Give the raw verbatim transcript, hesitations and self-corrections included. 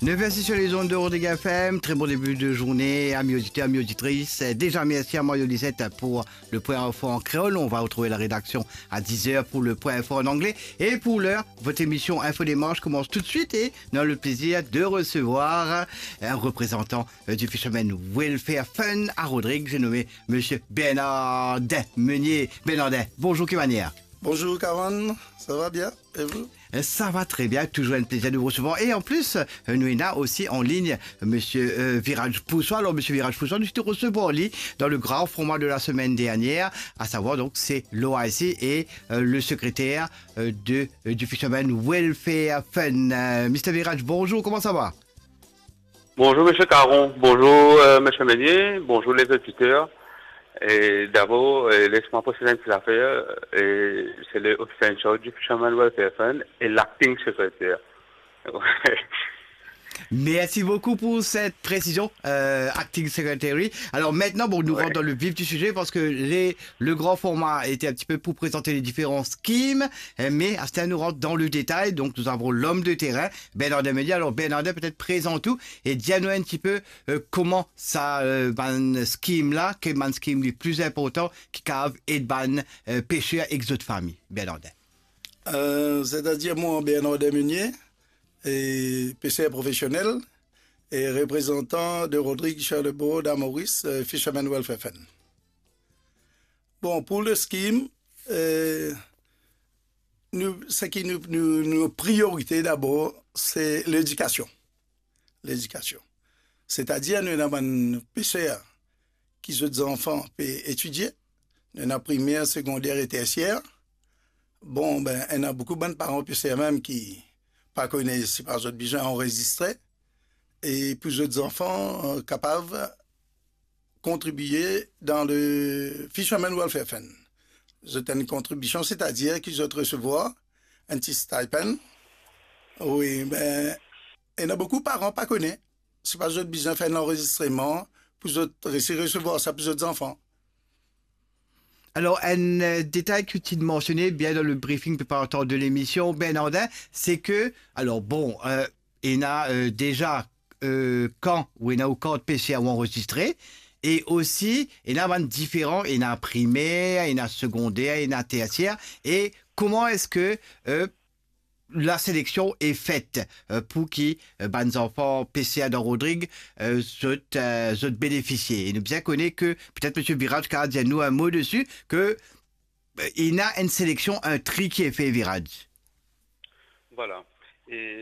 Neuf heures six sur les ondes de Rodrigue F M. Très bon début de journée, amis auditeurs, amis auditrices. Déjà, merci à Mario Lisette pour le point info en créole. On va retrouver la rédaction à dix heures pour le point info en anglais. Et pour l'heure, votre émission Info Démarche commence tout de suite et nous avons le plaisir de recevoir un représentant euh, du Fisherman Welfare Fund à Rodrigue. J'ai nommé Monsieur Bernardin Meunier. Bernardin, bonjour, ki manier? Bonjour, Kawan. Ça va bien? Et vous? Euh, ça va très bien, toujours un plaisir de vous recevoir. Et en plus, euh, nous avons aussi en ligne Monsieur euh, Viraj Poussois. Alors, Monsieur Viraj Poussois, nous te recevons lui dans le grand format de la semaine dernière, à savoir donc c'est l'O I C et euh, le secrétaire euh, de, euh, du Fisherman Welfare Fund. Euh, Mister Viraj, bonjour, comment ça va? Bonjour, Monsieur Caron. Bonjour, euh, Monsieur Meunier. Bonjour, les auditeurs. Et d'abord, euh, laisse-moi préciser une petite affaire. Et c'est le officer in charge du Fisherman Welfare Fund et l'acting secrétaire. Merci beaucoup pour cette précision, euh, acting secretary. Alors maintenant, bon, nous Ouais. rentrons dans le vif du sujet parce que les, le grand format était un petit peu pour présenter les différents schemes, euh, mais à ce temps, nous rentrons dans le détail. Donc nous avons l'homme de terrain, Bernardin Meunier. Alors Bernardin, peut-être présente ou e dir nou enn tipe euh, kouma sa euh, bann scheme la, ki bann scheme li pli inportan ki kapav ed bann euh, peser ek zot fami, Bernardin. Euh, c'est-à-dire moi, Bernardin Meunier, et pêcheur professionnel et représentant de Rodrigue Charlebourg à Maurice, euh, Fisherman Welfare Fund. Bon, pour le scheme, euh, nou, seki nou, nou, nou priorité d'abord, c'est l'éducation. L'éducation. C'est-à-dire, nou ena bann peser ki zot zanfan pe etidie, nou ena primer, segonder e tersier. Bon, ben, ena boukou bann paran peser mem ki pa kone sipa zot bizin anrezistre, e pou zot zanfan euh, kapav kontribie dan le Fisherman Welfare Fund. Zot enn kontribision, c'est-à-dire ki zot resevwar enn ti stipend. Wi, ben, ena boukou paran pa kone. Sipa zot bizin fer lanrezistreman pou zot resi resevwar sa pou zot zanfan. Alors, un euh, détail que tu mentionnais bien dans le briefing préparatoire de l'émission, Bernardin, c'est que, alors bon, euh, ena euh, déjà euh, kan ou ena ou kart peser ou anrezistre, e osi ena bann diferan, ena primer, ena segonder, ena tersier, e kouma eski euh, la seleksion est faite euh, pour ki euh, bann zanfan peser dan Rodrig euh, zot, euh, zot benefisie. E nou bien kone ke, petet Monsieur Viraj kapav dir nou un mot dessus, ke euh, ena enn seleksion, un tri ki est fait, Viraj. Voilà. E